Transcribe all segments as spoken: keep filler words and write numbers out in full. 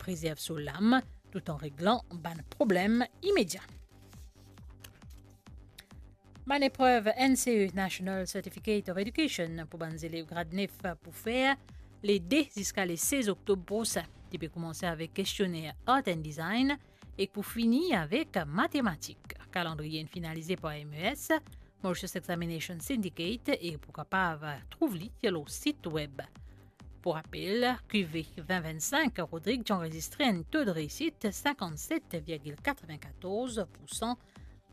prezerv so lam, toutan reglan bann problem imedia. Bann eprev N C E, National Certificate of Education, pou bann zelev grad nef pou fer le de ziska le sez oktob prosin. Li pe koumanse avek kestionner Art and Design ek pou fini avek matematik. Kalandriye inn finalize par M E S, Mauritius Examination Syndicate, e pou kapav trouv li lor sit web. Pou rapel, Q V vin vinn sink, Rodrig ti anrezistre enn to de reysit sinkannset virgil katrevin-katorz poursan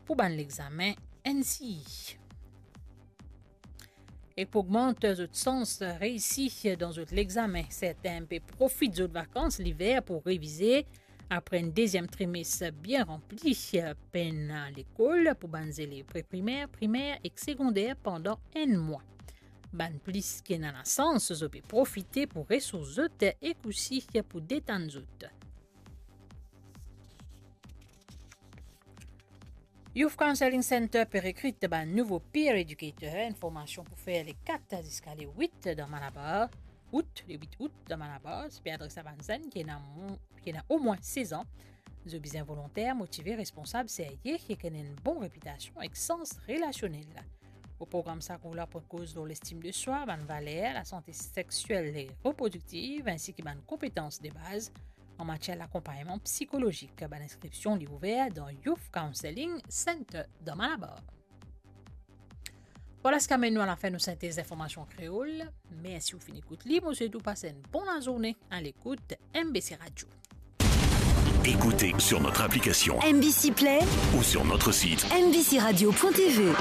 pou bann lexame N C E. E pou ogmant zot sans reisi dan zot lexame, sertin pe profit zot vakans liver pou revize. Apre enn deziem trimes bien ranpli, pena lekol pou bann zelev pre-primer, primer ek segonder pandan enn mwa. Bann plis ki ena lasans, zot pe profite pou resours zot ek osi pou detann zot. Youth Counselling Center pe rekrit bann nouvo peer educator, enn formasion pou fer le kat ziska le wit dan Malabar, out, le wit out dan Malabar. Li pe adres a bann zenn ki ena mo-, ki ena omwin sez an. Zot bizin volonter, motive, responsab, serye, ki ena enn bon repitasion ek sans relasionel. Ou program sa kour la pou koz lor lestim de swa, bann valer, lasante sexiel e reprodiktiv, ensi ki bann konpetans de baz an matier lakonpagnman psikolozik. Bann inskripsion li ouver dan Youth Counselling Center dan Malabar. Vwala seki amenn nou a lafin nou sintez linformasion kreol. Mersi ou finn ekout li. Mo swet ou pas enn bon lazourne a lekout M B C Radio. Écoutez sur notre application M B C Play ou sur notre site M B C radio point T V.